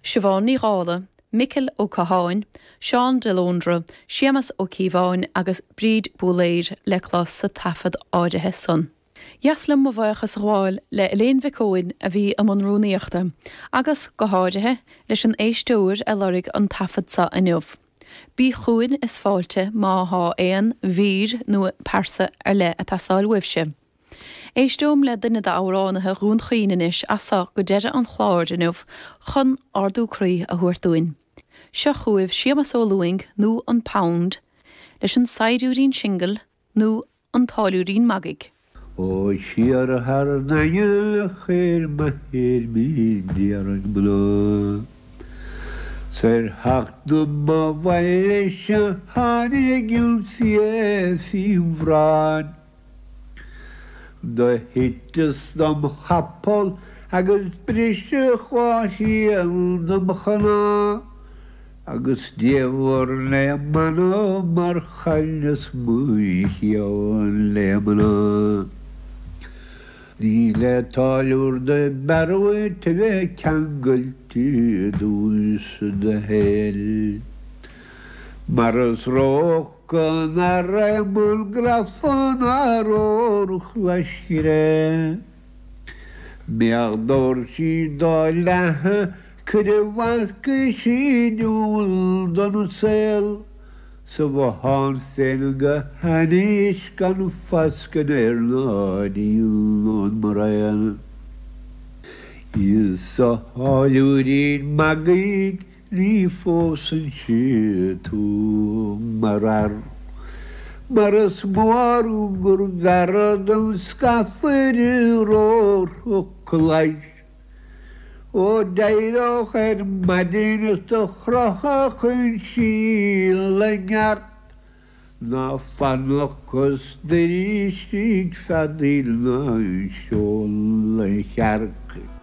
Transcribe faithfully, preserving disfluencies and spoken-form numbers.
Siobhán Ní Dhála, Micil Ó Catháin, Seán de Lóndra, Séamas Ó Cíobháin agus Bríd Búléir le clos sa taifead áirithe san. Dheas liom mo bhuíochas a ghabháil le Elaine Mhic Eoin a bhí i mbun rúnaíochta, agus go háirithe leis an éisteoir a lorg an taifead seo inniu. Bí chugainn is fáilte má thá aon mhír nó pearsa ar leith ag teastáil uaibhse. Éisteom le duine d'amhránaithe Dhún Chaoin anois as seo go deireadh an chláir inniu chun ardú croí a thabhairt dúinn. Seo chugaibh Séamas Ó Lúing nó an Pound leis an saighdiúirín singil nó an táilliúirín magaidh. Ó siar thar an aine chuir m'athair mé d'iarraidh mná. Sar theacht dom abhaile se tháinig an fia faoin bhráid. Do thiteas dom chapall agus briseadh dhá thrian dom chnámh, agus diabhal le m'anam mar chailleas mo cheann le mná. Ní le táilliúir do b'fhearr dhuit a bheith ceangailte i dtús do shaoil. Mar is ró-fholcadh an fhear an grafán ar ór-chlaiscre. Mbeadh doirsí dá leathadh cuir i bhfasca síniúil don saol, sa bhothán féin go hainnis gan foscadh air ná díon maraon. Is a tháilliúirín magaidh ní phósfainnse tú mar fhear, mar is mó rún gurbh fhearra dom scafaire róthach clais. Ó d'éireodh ar maidin is do chroitheadh an síol a neart, ná fanacht cos doirístigh feadaíl ná seol an chearc.